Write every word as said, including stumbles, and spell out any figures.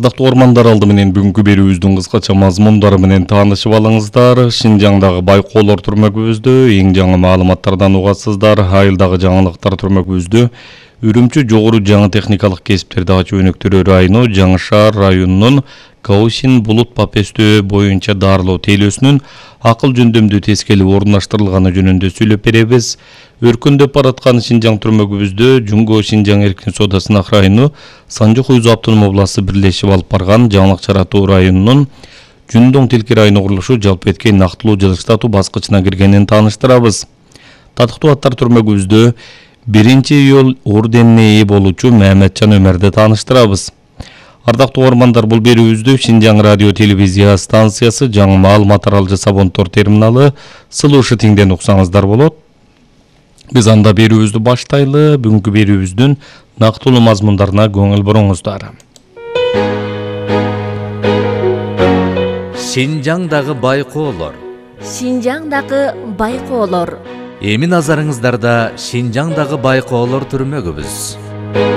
Ардактуу ормандар, алды менен бүгүнкү берүүбүздүн кыскача мазмундары менен таанышып алыңыздар. Шинжаңдагы байкоолор түрмөгүбүздө эң жаңы маалыматтардан угасыздар. Айылдагы жаңылыктар түрмөгүбүздө Үрүмчү жогору жаңы техникалык кесиптерди ачуу өнөктөрү району Жаңы Шаар районунун Гаусин булут папестөө боюнча дарылоо тейлөөсүнүн акыл жөндөмдүү тескели орундаштырылганы жөнүндө сүйлөп беребиз. Өркүндөп бараткан Шинжаң түрмөгүбүздө Жумго Шинжаң эркин соода сынак району Санжы Хуйзу автономдук областы бирлешип алып барган жаңылык чаратуу районунун Жүндөң Тилки району курулушу жалпы эткей нактылуу жылыштатуу баскычына киргенин тааныштырабыз. Татыктуу аттар түрмөгүбүздө биринчи июль орденине ээ болуучу Маматжан Өмөрдү тааныштырабыз. Ардактуу ормандар, бул берүүбүздү Шинжаң радио телевизия станциясы, жаңы маалымат аралжы Сабонтор терминалы Сылышытиңден уксаңыздар болот. Биз анда берүүбүздү баштайлы. Бүгүнкү берүүбүздүн нактылуу мазмундарына көңүл буруңуздар. Шинжаңдагы байкоолор. Шинжаңдагы байкоолор. Эми назарыңыздарда Шинжаңдагы байкоолор түрмөгүбүз.